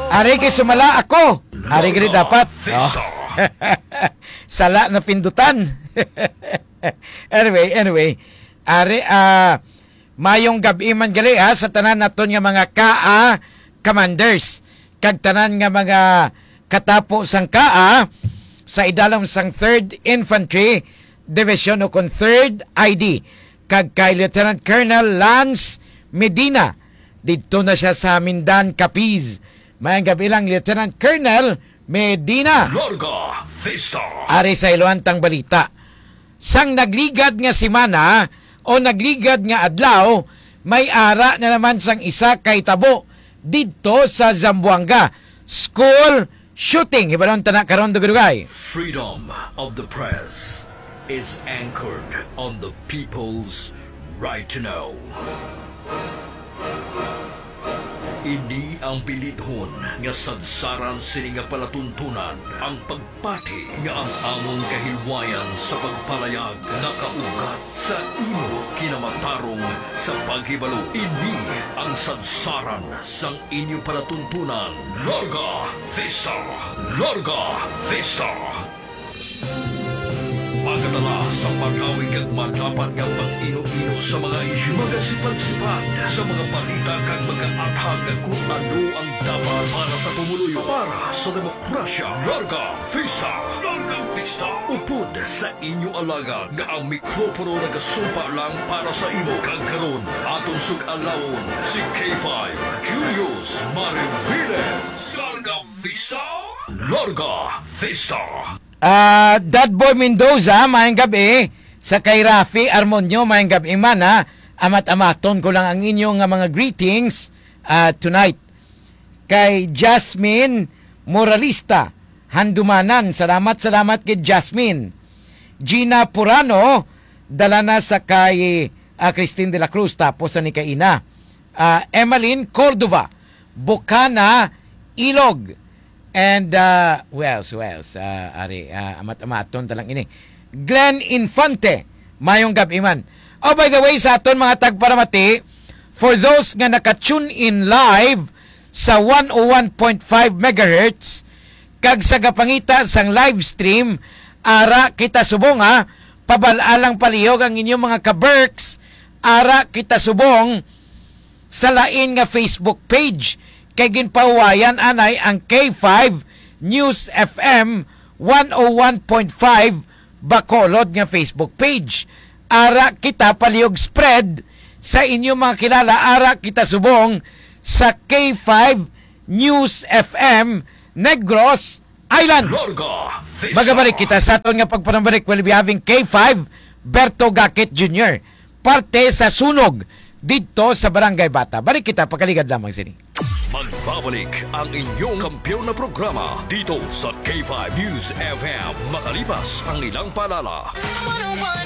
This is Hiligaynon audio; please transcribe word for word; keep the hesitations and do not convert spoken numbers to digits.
Ari kay sumala ako. Ari gani dapat. Oh. Sala na pindutan. Anyway, anyway. Ari, ah, mayong gab-i man gali, ha, sa tanan naton nga mga kaa commanders, kag tanan nga mga katapo sang kaa sa idalom sang Third Infantry Division, o kon Third I D, kag kay Lieutenant Colonel Lance Medina. Didto na siya sa Mindan, Capiz. Mayong gab-i lang, Lieutenant Colonel Medina. Larga Vista. Ari sa iluwantang balita. Sang nagligad nga semana o nagligad nga adlaw, may ara na naman sang isa ka hitabo didto sa Zamboanga. School shooting. Hibaron ta na karon, dugay-dugay. Freedom of the press is anchored on the people's right to know. Ini ang bilidhon nga sadsaran sini nga palatuntunan, ang pagpati nga ang among kahilwayan sa pagpalayag nakaugat sa imo kinamatarong sa paghibalo. Ini ang sadsaran sang inyo palatuntunan. Larga Vista! Larga Vista! Magadala sa magawig kag madapat nga pag-ino-ino sa mga isyu, magasipad-sipad sa mga balita kag magaathag kon ano ang dapat para sa pumuluyo, para sa demokrasya. Larga Vista! Larga Vista! Upod sa inyo alagad nga ang mikropono nagasumpa lang para sa imo, kag karon aton sug-alawon si K five Julius Mariviles. Larga Vista! Larga Vista! Ah, Dadboy Mendoza, mayong gab-i. Sa kay Rafi Armonio, mayong gab-i man, ha. Amat-amaton ko lang ang inyo nga mga greetings, ah, tonight. Kay Jasmine Moralista, Handumanan. Salamat, salamat kay Jasmine. Gina Purano, dala na sa kay, ah, Christine de la Cruz, tapos sa ni kay Ina. Ah, Emmeline Cordova, Bukana, Ilog. And, uh, who else, who else? Uh, ari, uh, amat-amaton ta lang ini. Glenn Infante, mayong gab-i man. Oh, by the way, sa aton mga tagparamati, for those nga naka-tune in live sa one oh one point five megahertz, kag sa gapangita sang live stream, ara kita subong, ha, pabal-a lang palihog ang inyong mga ka-Berks, ara kita subong, sa lain nga Facebook page, kay ginpahuwayan anay ang K five News F M one oh one point five Bacolod nga Facebook page. Ara kita palihog spread sa inyo mga kilala, ara kita subong sa K five News F M Negros Island. Larga Vista. Magabalik kita sa aton nga pagpanambalik. We'll be having K five Berto Gakit Junior, parte sa sunog didto sa Barangay Bata. Balik kita, pagkaligad lamang sini. Magbabalik ang inyong kampiyon na programa dito sa K five News F M, makalipas ang ilang paalala.